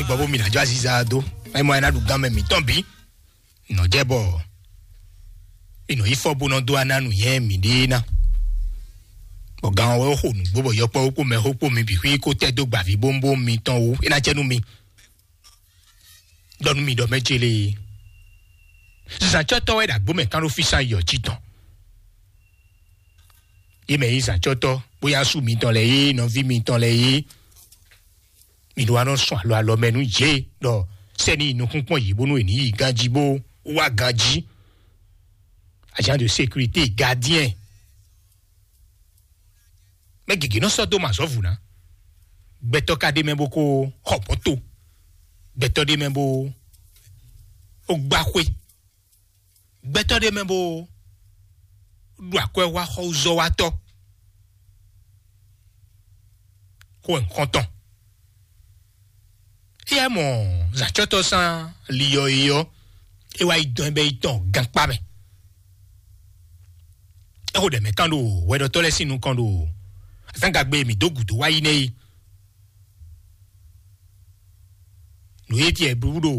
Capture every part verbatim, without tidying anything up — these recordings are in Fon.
Bɔ bó mi ná jó aziza dó. Ɛ mɔ ɛ ná ɖu gán mɛ mǐtɔn bǐ. Nɔ jɛ bɔ mi nɔ yi fɔ bó nɔ dó aná nǔ yɛn mǐɖée ná. Bɔ gán ɔ́ wɛ xo nǔgbó bɔ yɔkpɔ́ kpó mɛ xó kpó mi bǐ xwí kó tɛ́ dó gbavǐ bómbóm mitɔn wú. É ná jɛ nú mi. Ɖɔ nú mi ɖɔ mɛ ce lée. Zǎncɔ́tɔ́ wɛ ɖo agbǒ mɛ kán ɖó físán yɔ jí tɔn. Yě mɛ yí zǎncɔ́tɔ́, bóyá sú mitɔn lɛ́ɛ yé, nɔví mitɔn lɛ́ɛ yé. Mi ɖó wá nɔ sɔn alɔ alɔ mɛ nú yě ɖɔ sɛ́ni yi nukúnkpɔ́n yě bónú è ní yi ganjí bó wá ganjí. Agent de sécurité, gardien. Mɛ gěgé nɔ sɔ́ dó mɛ azɔ̌ vǔ ná. Gbɛtɔ́ ka ɖ'é mɛ bó kó xɔ mɔ̌to. Gbɛtɔ́ ɖ'é mɛ bó gbá xwé. Gbɛtɔ́ ɖ'é mɛ bó ɖo akwɛ́ wá xɔzɔ́watɔ́. Xó wɛ nǔ xɔ́ntɔn. Éyɛ́ mɔ zǎncɔ́tɔ́ sán liyɔ é ɔ́, é wá yi dɔn ɛ bɛ́ yi tɔn gankpá mɛ. É xo ɖɛ mɛ kán ɖo hwɛɖɔtɔ́ lɛ́ɛ sín nukɔn ɖo azǎngagbe e mǐ dó gǔdo wá yi nɛ́ é. Nǔ e tiɛ blú ɖo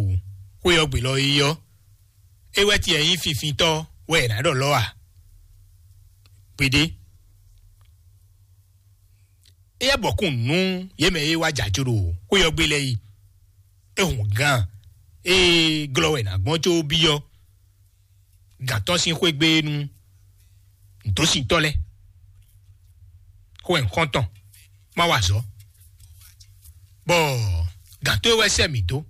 xwé ɔ́ gbe lɔ é ɔ́, é wɛ tiɛ nyí finfintɔ́ wɛ è nǎ ɖɔ lɔ́ a? Gbeɖé. Éyɛ́ bɔkún nú yě mɛ e wá jɛ ajo ɖo xwé ɔ́ gbe lɛ́ɛ yi. É hun gǎn e glɔ́ wɛ è nǎ gbɔn có byɔ́ gǎn tɔn sín xwé gbe nú nǔdósintɔ́ lɛ́ɛ. Xó wɛ nǔ xɔ́ntɔn má wa azɔ̌. Bɔ gǎn tó e wɛ sɛ́ mǐ dó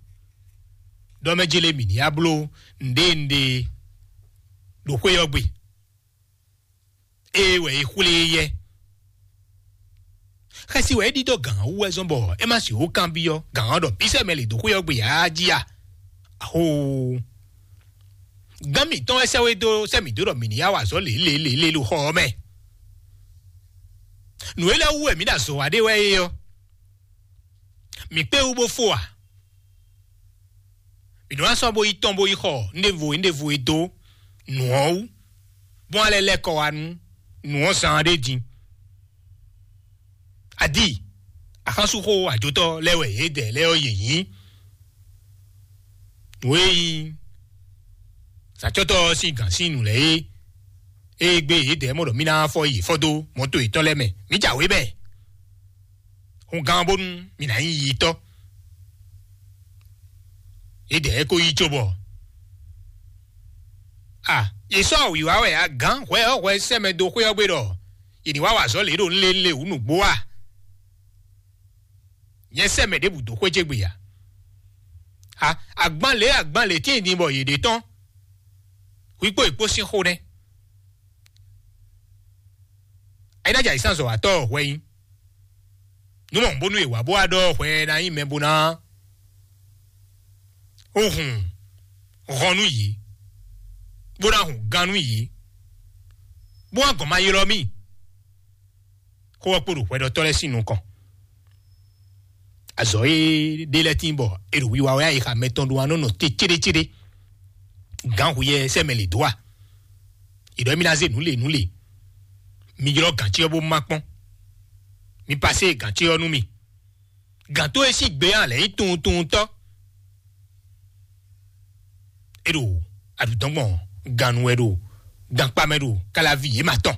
ɖɔ mɛ jélé mǐ ní yá bló nǔɖé nǔɖé ɖo xwé ɔ́ gbe. Ée wɛ é xwlé éyɛ́. Xɛsi wɛ é ɖidó gǎn ɔ́ wú wɛ zɔ́n bɔ é má sixú kanbyɔ́ gǎn ɔ́ ɖɔ bísɛ mɛ lě dó xwé ɔ́ gbe ǎ jí a? Axóo! Gǎn mǐtɔn wɛ sɛ́ wé dó sɛ́ mǐ dó ɖɔ mǐ ní yá wa azɔ̌ lě lě lě lě ɖo xɔ ɔ́ mɛ. Nǔ élɔ́ wú wɛ mǐ ɖo azɔ̌ wa ɖé wɛ é ɔ́, mǐ kpé wú bó fó a? Mǐ nɔ wá sɔ́ bó yi tɔn bó yi xɔ nɖěvo nɖěvo e dó nǔ ɔ́ wú, bó wá lɛ́ lɛ́ kɔ wá nú nǔ ɔ́ zán ɖé din. Adi, axánsúxó ajotɔ́ lɛ́ɛ wɛ yědɛɛ lɛ́ɛ ɔ́ yě nyí. Nǔ e nyí sacɔ́tɔ́ ɔ́ sín gǎn sín nǔ lɛ́ɛ é, ée gbé yědɛɛ mɔ ɖɔ mí ná fɔ yě fɔ dó mɔto yětɔn lɛ́ɛ mɛ, mǐ jǎwe mɛ. Hun gán bónú mǐ ná nyí yitɔ́. Yědɛɛ ko yí cóbɔ. A, yě sɔ́ wǐwá wɛ a gǎn hwɛ ɔ́ hwɛ sɛ́ mɛ dó xwé ɔ́ gbe ɖɔ yě ní wá wa azɔ̌ lě ɖo nlélé wǔ nǔgbó a? Nyɛ sɛ́ mɛ ɖěbǔ dó xwé ce gbe ǎ. A, agban lě agban lě tíin din bɔ yě ɖe tɔn. Hwi kpó yě kpó sín xó nɛ́. Ayínájà yě sán zɔ̌watɔ́ hwɛ nyí. Nú mɔ bónú è wǎ bó wá ɖɔ hwɛ ná nyí mɛ bó ná ó hun hɔn nú yě, bó ná hun gán nú yě, bó wá gɔn ma ylɔ́ mì. Xó ɔ́ kpo ɖo hwɛɖɔtɔ́ lɛ́ɛ sín nukɔn. Azɔ̌ e ɖe lɛ́ɛ tín bɔ è ɖo wiwa wɛ ayixa mɛtɔn ɖó wá nɔ nɔ te céɖécéɖé. Gǎn hu yɛ sɛ́ mɛ lě dó a? È ɖɔ émí ná zé nǔ lě nǔ lě. Mi ylɔ́ gǎn ce ɔ́ bó má kpɔ́n. Mi pasé gǎn ce ɔ́ nú mì. Gǎn tó e sín gbe ɔ́ lɛ̌ nyí tunwuntunwuntɔ́. É ɖo aɖǔdɔ́ngbɔn gannú wɛ ɖo gankpá mɛ ɖo káláví yě ma tɔn.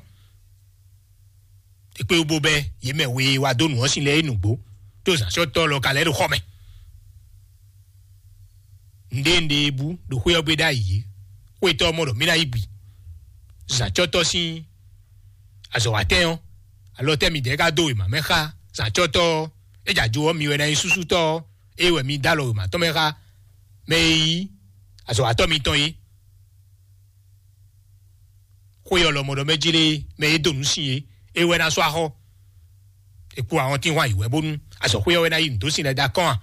È kpé wú bó bɛ́ yě mɛ we e wá dó nǔ ɔ́ sin lɛ́ɛ é nǔgbó, tó zǎnsɔ́tɔ́ lɔ ka lɛ́ ɖo xɔ mɛ. Nǔɖé nǔɖé e bú ɖo xwé ɔ́ gbe ɖ'ayǐ é, xwétɔ́ ɔ́ mɔ ɖɔ mí ná yí gbi. Zǎncɔ́tɔ́ sín azɔ̌watɛ́n ɔ́, alɔ tɛ́ midɛɛ ka dó wěma mɛ xá zǎncɔ́tɔ́ ɔ́, é jɛ ajo ɔ́ mi wɛ ná nyí súsútɔ́ ɔ́, é wɛ mi dó alɔ wěma tɔn mɛ xá mɛ e nyí azɔ̌watɔ́ mitɔn é. Xwé ɔ́ lɔmɔ̌ ɖɔ mɛ jlé mɛ e dó nǔ sin é, é wɛ ná sɔ́ axɔ́. È kpo ahɔntínhwan yi wɛ bónú azɔ̌xwé ɔ́ wɛ ná yí nǔ dó sin lɛ́ɛ dó akɔ́n a?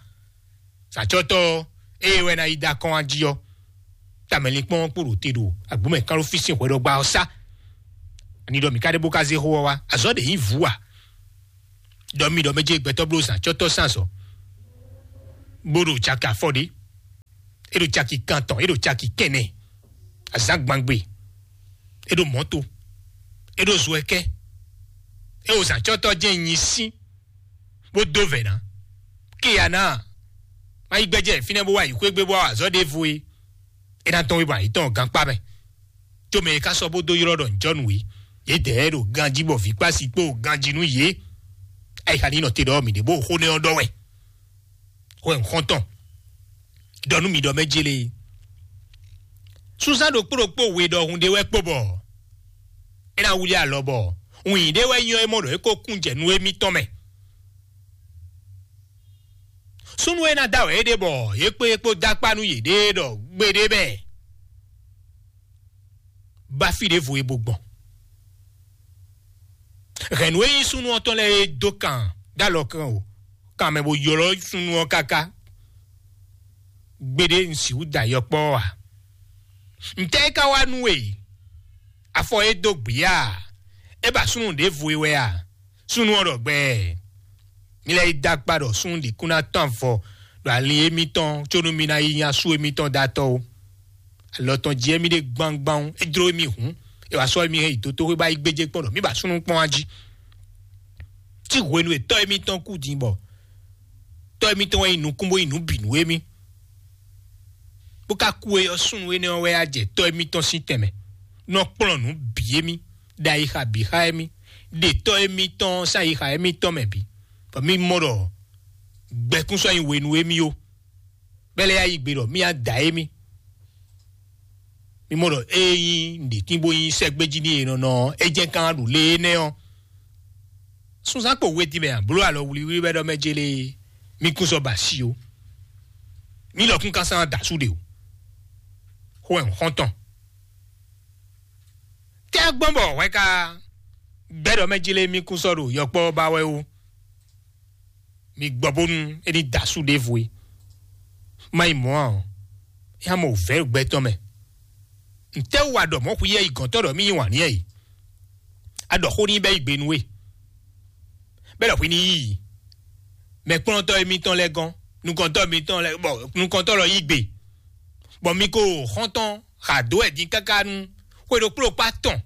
Sǎcɔ́tɔ́ ɔ́, ée wɛ ná yi dó akɔ́n a jí ɔ́, tamɛlinkpɔ́n ɔ́ kpo ɖo te ɖo agbǒmɛ kánɖófí sín hwɛɖɔgba ɔ́ sá. Ani ɖɔ mǐ ka ɖe bó ka zé xó ɔ́ wá? Azɔ̌ ɖě nyí vǔ a? Ɖɔ mi ɖɔ mɛ jɛ gbɛtɔ́ bló sǎcɔ́tɔ́ sín azɔ̌, bó ɖo caki afɔ ɖé, é ɖo caki kantɔn, é ɖo caki kɛnɛ, azǎngbangbe, é ɖo mɔ̌to, é ɖo zɔɛkɛ́, é ɖo zǎcɔ́tɔ́ jɛ́n nyi sín, bó dó vɛ̌ ná. Kéya ná, Má yi gbɛjɛ fínɛ́ bó wá yi xwé gbé bó wá azɔ̌ ɖěvo é. É ná tɔ́n wé bɔ ayǐ tɔn gankpá mɛ. Có mɛ e ka sɔ́ bó dó ylɔ́ ɖɔ ǹjɔ́nǔ é, yědɛɛ ɖo ganjí bɔ vǐ kpá sí kpó ganjí nú yě. Ayixa ní nɔ te ɖɔ mǐ ɖě bó xó nɛ́ ɔ́ ɖɔ wɛ. Xó ɛ xɔ́ntɔn ɖɔ nú mi ɖɔ mɛ jélé. Sunzán ɖokpó ɖokpó we ɖɔhun ɖé wɛ kpo bɔ é ná wlí alɔ bɔ wǐn ɖé wɛ nyɔ́ é mɔ ɖɔ é ko kún jɛ nú émítɔn mɛ. Súnnu e ná da wɛ é ɖe bɔ yě kpé yě kpó dó akpá nú yěɖée ɖɔ gbeɖé bɛɛ bá fí ɖěvo e bo gbɔn. Hɛ̌nnu e nyí súnnu ɔ́ tɔn lɛ́ɛ é dó kan dó alɔ kan o kan mɛ bó ylɔ́ súnnu ɔ́ káká. Gbeɖé un sixú da yɔkpɔ́ ɔ́ ǎ. Ntɛ́ é ka wá nú we? Afɔ é dó gbǐ a? É ba súnnu ɖěvo e wɛ a? Súnnu ɔ́ ɖɔ gbɛɛ. Mi lɛ́ yi dó akpá ɖɔ súnnu ɖě kún ná tɔ́n avɔ ɖo ali émítɔn có nú mi ná yi nya sú émítɔn dó atɔ́ ó. Alɔ tɔn jí émí ɖe gbangban é jló émí hǔn, é wá sɔ́ émí hɛn yi dotóxwé bá yi gbéjé kpɔ́n ɖɔ mí ba súnnu kpɔ́n wá jí. Tí hwenu e tɔ́ émítɔn kú din bɔ tɔ́ émítɔn wɛ nyí nukún bó nyí nǔ bǐ nú émí, bó ka kú é ɔ́, súnnu énɛ́ ɔ́ wɛ á jɛ tɔ́ émítɔn sín tɛnmɛ nɔ kplɔ́n nǔ bǐ émí, ɖo ayixa bǐ xá émí, ɖe tɔ́ émítɔn sín ayixa émítɔn mɛ bǐ, bɔ mí mɔ ɖɔ gbɛkún sɔ́ nyi we nú émí ó. Bɛ́ lɛ́ yá yi gbe ɖɔ mí á da émí. Mí mɔ ɖɔ ée nyí nǔɖétín bó nyí sɛ́gbéjí n'i e nɔ nɔ ɔ́, é jɛ́n kán ɖo lě énɛ́ ɔ́. Sunzán kpo we din mɛ a bló alɔ wlíwlí wɛ ɖɔ mɛ jélé mí kún sɔ́ ba asi ó. Mí lɔkún ka sán da asú ɖe o. Xó wɛ un xɔ́n tɔn. Tɛ́ gbɔn bɔ hwɛ ka gbɛ́ ɖɔ mɛ jélé mí kún sɔ́ ɖo yɔkpɔ́ ba wɛ ó. Mi gbɔ bónú é ní da asú ɖěvo é. Má yi mɔ̌ ǎ ɔ́, é ná mɔ wǔvɛ́ ɖo gbɛ tɔn mɛ. Ntɛ́ wú a ɖɔ mɔ̌ xwíyɛ́ yi gɔ̌ntɔ́ ɖɔ mí yí wǎn n'i é? A ɖɔ xó n'i bɛ́ yi gbe nú we. Bɛ́ ɖɔ hwi ní yí i. Mɛkplɔ́ntɔ́ émítɔn lɛ́ɛ gɔ́n, nukɔntɔ́ émítɔn lɛ́ɛ bɔ nukɔntɔ́ lɔ yí gbe. Bɔ mi ko xɔ́ntɔn xa dó wɛ din káká nú xwe ɖokpó ɖokpó atɔn.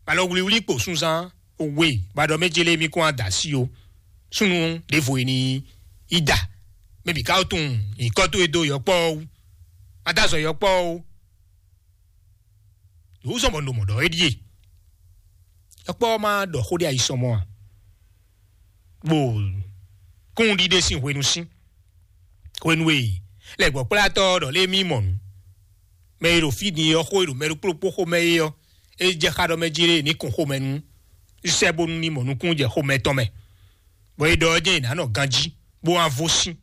Alɔ wlíwlí kpo sunzán we ba ɖɔ mɛ jélé mí kún ada sí o. Súnnu ɖěvo e ní yi da. Mɛ bǐ ka wó tunwun nyǐkɔ towe dó yɔkpɔ́ ɔ́ wú. Má dó azɔ yɔkpɔ́ ɔ́ wú. Yǒzɔn bɔ un ɖo mɔ̌ ɖɔ é ɖíe. Yɔkpɔ́ ɔ́ má ɖɔ xó ɖé ayisɔmɔ a? Bó kún ɖiɖe sín hwenu sín. Hwenu e lɛ̌gbɔ́kplátɔ́ ɔ́ ɖɔ lé mí mɔ nǔ. Mɛ e ɖo fí din ɔ́ xó e ɖo mɛ ɖokpó ɖokpó xomɛ é ɔ́, é jɛ xá ɖɔ mɛ jí lé ní kun xomɛ nú sɛ́ bónú ní mɔ nukúnnú jɛ xomɛ tɔn mɛ, bɔ é ɖɔ ɔ́ jɛ́n è nǎ nɔ ganjí bó wá vo sín.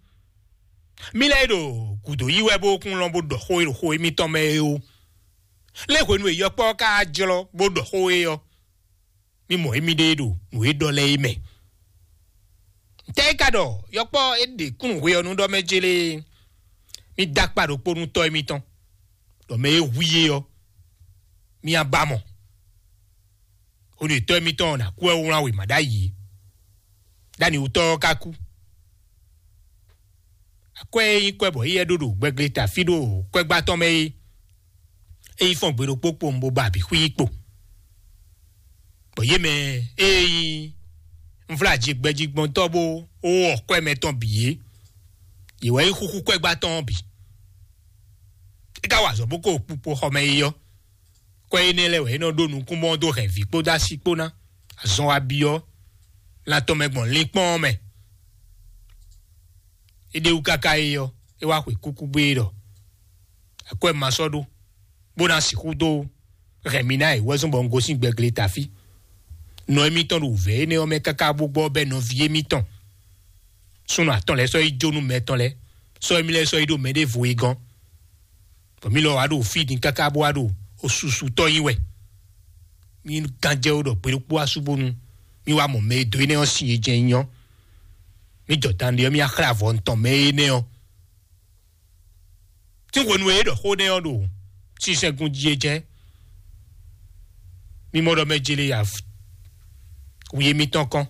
Mí lɛ́ɛ e ɖo gǔdo yí wɛ bó kún lɔn bó ɖɔ xó e ɖo xo émítɔn mɛ é ó. Lé hwenu e yɔkpɔ́ ɔ́ ka jlɔ́ bó ɖɔ xó é ɔ́, mí mɔ émíɖée ɖo nǔ e ɖɔ lɛ́ɛ é mɛ. Ntɛ́ é ka ɖɔ yɔkpɔ́ é ɖe kúnnu hwe ɔ́ nú ɖɔ mɛ jélé? Mí dó akpá ɖokpó nú tɔ́ émítɔn, ɖɔ mɛ e hu yé ɔ́, mí á ba mɔ. Hwenu e tɔ́ émítɔn ɔ́ ná kú wɛ wlán wěma ɖ'ayǐ é. Ɖ'anǐwútɔ́ ɔ́ ka kú. Akwɛ́ e nyí kwɛ́ bɔ éyɛ́ ɖó ɖo gbɛgleta fí ɖo kwɛ́gbá tɔn mɛ é, é yi fɔ́n gbe ɖokpó kpowun bó ba abǐ xwí kpo. Bɔ yě mɛ e nyí nvlájigbɛjigbɔntɔ́ bó wɔ kwɛ́ mɛ tɔn bǐ é, yě wɛ nyí xúxú kwɛ́gbá tɔn ɔ́ bǐ. É ka wa azɔ̌ bó ko kpukpo xɔ mɛ é ɔ́, kwɛ́ énɛ́ lɛ́ɛ wɛ é nɔ ɖó nukúnmɔ dó hɛn vǐ kpódó asi kpó ná. Azɔn wa byɔ́ lan tɔn mɛ gbɔn linkpɔ́n ɔ́ mɛ. É ɖe wú káká é ɔ́, é wá xwe kúkú gbé é ɖɔ: "Akwɛ́ ma sɔ́ ɖó, bó ná sixú dó hɛn mi ná è wɛ́zɔ́n bɔ un gosín gbɛgleta fí." Nɔ émítɔn ɖo wǔvɛ́ énɛ́ ɔ́ mɛ káká bó gbɔ bɛ́ nɔví émítɔn súnnu atɔn lɛ́ɛ sɔ́ yi jó nú mɛ tɔn lɛ́ɛ, sɔ́ émí lɛ́ɛ sɔ́ yi ɖo mɛɖěvo e gɔ́n. Bɔ mí lɔ wá ɖo fí din káká bó wá ɖo osusutɔ́ nyi wɛ. Mí gán jɛ wó ɖɔ gbe ɖokpó asú bónú mí wá mɔ mɛ e dó énɛ́ ɔ́ sin e jɛ́n nyí ɔ́. Mí jɔ dan ɖe ɔ́, mí wá xlɛ́ avɔ tɔn mɛ énɛ́ ɔ́. Sín hwenu e é ɖɔ xó nɛ́ ɔ́ ɖo sinsɛngun jí é jɛ́n. Mí mɔ ɖɔ mɛ jele ya wi émítɔn kɔn.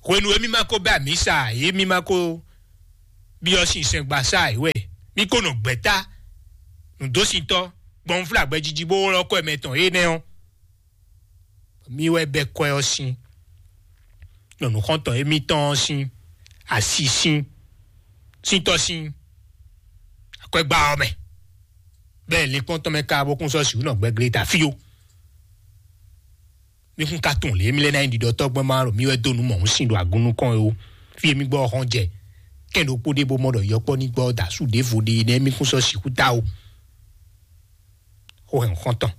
Hwenu e mí ma ko bɛ́ amǐ sa ǎ, é mí ma ko byɔ́ sinsɛngbasá ǎ wɛ. Mí ko nɔ gbɛ̌ta nǔdósintɔ́ gbɔn nǔflágbɛ́ jiji bó ylɔ́ kɔ mɛ tɔn énɛ́ ɔ́. Mí wɛ bɛ́ kwɛ́ ɔ́ sín, nyɔ̌nu xɔ́ntɔn émítɔn ɔ́ sín asi sín. sín tɔ́ sín akwɛ́gbá ɔ́ mɛ, bɛ́ linkpɔ́n tɔn mɛ ka bó kún sɔ́ sǐ nɔ gbɛglé ta fí ó. Mi kún ka tunwun lě mi lɛ́ ná nyi ɖiɖɔ tɔ́gbɛ́n ma ɖo mi wɛ dó nǔ mɔ̌hun sin ɖo agun nukɔn é ó. Fí e mi gbɔ ɔ́ hɔn jɛ kɛn ɖokpó ɖé bó mɔ ɖɔ yɔkpɔ́ ní gbɔ da sú ɖěvo ɖe nɛ́ mi kún sɔ́ sixú ta ó. Xó hɛn xɔ́ntɔn,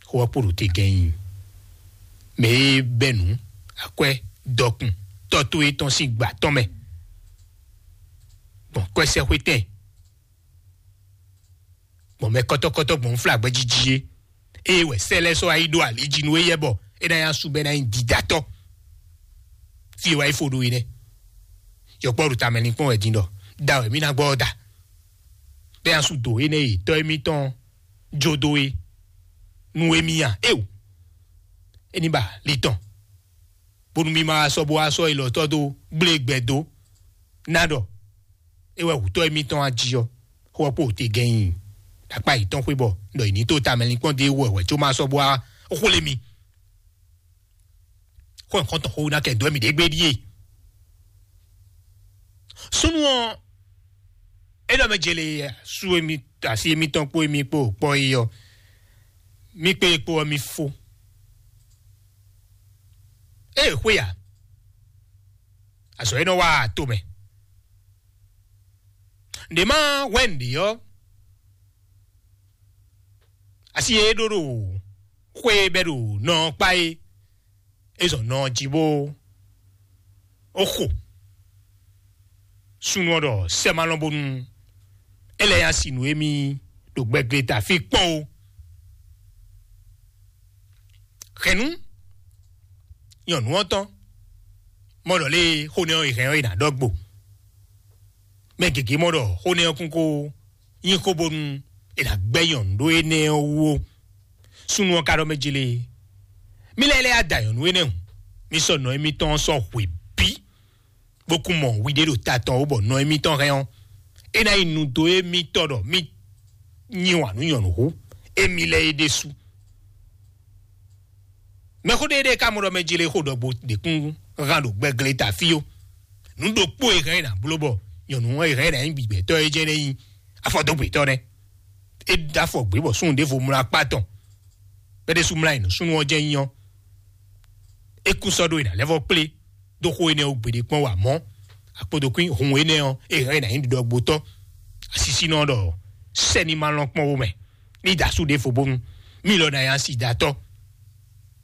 xó ɔ́ kpo ɖo te gɛ́n nyi mɛ e bɛ́ nǔ akwɛ́ dɔkun tɔ́ towe tɔn sín gbǎ tɔn mɛ gbɔn kwɛ́sɛ́xwétɛn gbɔn mɛ kɔ́tɔ́kɔ́tɔ́ gbɔn nflágbɛ́ jíjí é. Ée wɛ sɛ́ lɛ́ɛ sɔ́ wá yi ɖó ali jí nú éyɛ́ bɔ é ná nyí asú bɔ é ná nyí dídátɔ́. Fí e wá yi fo ɖó é nɛ́. Yɔkpɔ́ ɖo tamɛ linkpɔ́n wɛ din ɖɔ da wɛ mí ná gbɔ ɔ́ da. Bɛ́ asú dǒ énɛ́ e tɔ́ émítɔn jó dó é nú émí a? Éo, é ní ba li tɔn, bónú mí ma wá sɔ́ bó wá sɔ́ élɔ́ tɔ́ dó gblé gbɛ dó ná ɖɔ é wɛ wǔtɔ́ émítɔn a jí ɔ́, xó ɔ́ kpo te gɛ́n nyi ɖakpá yětɔn xwé bɔ ɖɔ yě ní tó tamɛ linkpɔ́n dó é wɛ wɛ có ma sɔ́ bó wá xwlé mi. Xó nǔxɔ́ntɔn xó ná kɛ dó mì ɖě gbé ɖíe. Súnnu ɔ́, é ɖɔ mɛ jele sú émi asi émítɔn kpó émi kpó kpɔ́ é ɔ́, mí kpé é kpó ɔ́ mí fó. Ée xwé ǎ, azɔ̌ é nɔ wa to mɛ. Nɖě má hwɛ nǔɖé ɔ́, asi e é ɖó ɖo xwé e bɛ́ ɖo nɔ ɔ́ kpá é, é zɔn nɔ ɔ́ jí bó ó xo. Súnnu ɔ́ ɖɔ sɛ́ ma lɔn bónú é lɛ́ nya si nǔ émí ɖo gbɛgleta fí kpɔ́n ó. Hɛ̌nnu nyɔ̌nu ɔ́ tɔn mɔ ɖɔ lé xó nɛ́ ɔ́ è hɛn ɔ́ è nǎ ɖɔ gbo. Mɛ gěgé mɔ ɖɔ xó nɛ́ ɔ́ kún kó nyí xó bónú è nǎ gbɛ́ nyɔ̌nu ɖó énɛ́ ɔ́ wú ó. Súnnu ɔ́ ka ɖɔ mɛ jélé, mí lɛ́ lɛ́ ya da nyɔ̌nu énɛ́ hǔn, mí sɔ́ nɔ émítɔn ɔ́ sɔ́ hwe bǐ, bó kún mɔ wiɖé ɖo ta tɔn ó bɔ nɔ émítɔn hɛn ɔ́, é ná nyí nu dó émítɔn ɖɔ mí nyi wǎn nú nyɔ̌nu hú émí lɛ́ɛ é ɖésú. Mɛxó ɖé ɖé ka mɔ ɖɔ mɛ jlé xó ɖɔgbo ɖě kún hán ɖo gbɛglé ta fí ó. Nǔ ɖokpó e hɛn é nǎ bló bɔ nyɔ̌nu ɔ́ e hɛn é nǎ nyí gbigbɛtɔ́ é jɛ́n é nyí afɔdógbetɔ́ nɛ́. É ɖó afɔ gbě bɔ súnnu ɖěvo mlá akpá tɔn. Bɛ́ ɖésú mlá yi nǔ súnnu ɔ́ jɛ́n nyí ɔ́, é kún sɔ́ ɖó e nǎ lɛ́ vɔ́ kplé dó xó énɛ́ ɔ́ gbeɖé kpɔ́n wǎ mɔ̌. Akpodokún hun énɛ́ ɔ́, é hɛn é nǎ nyí ɖiɖɔgbotɔ́. Asisínɔ ɖɔ sɛ́ni ma lɔn kpɔ́n wo mɛ ní da asú ɖěvo bónú mí lɔ ná nyí asi da tɔ́.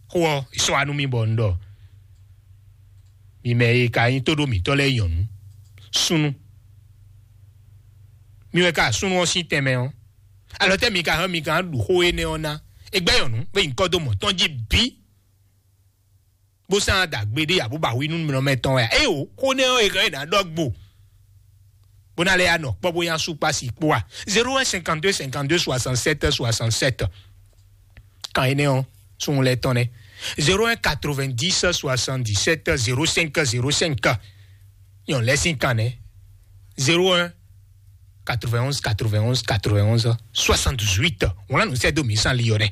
Xó ɔ́, è sɔ́ wá nú mì bɔ un ɖɔ mi mɛ e ka nyí tóɖó mǐtɔn lɛ́ɛ nyɔ̌nu, súnnu. Mi wɛ ka súnnu ɔ́ sín tɛnmɛ ɔ́, alɔ tɛ́ mi ka hɛn mi ka ɖu xó énɛ́ ɔ́ ná? È gbɛ́ nyɔ̌nu bó yi nyǐkɔ dó mɔ̌ tɔn jí bǐ, bó sán dǎgbé ɖé abó ba hu nú nɔ mɛ tɔn wɛ a? Éyo, xó nɛ́ ɔ́ è hɛn è nǎ ɖɔ gbo bó ná lɛ́ ya nɔ kpɔ́ bó nyá sú kpá si kpó a? Zéro un cinquante deux cinquante deux soixante sept soixante sept. Kan énɛ́ ɔ́, súnnu lɛ́ɛ tɔn nɛ́. Zéro un quatre vingt dix soixante dix sept zéro cinq zéro cinq. Nyɔ̌nu lɛ́ɛ sín kan nɛ́. Zéro un quatre vingt onze quatre vingt onze quatre vingt onze soixante dix huit. Wọ́n lá nǔ sɛ́ dó mǐ sán li ɔ́ nɛ́.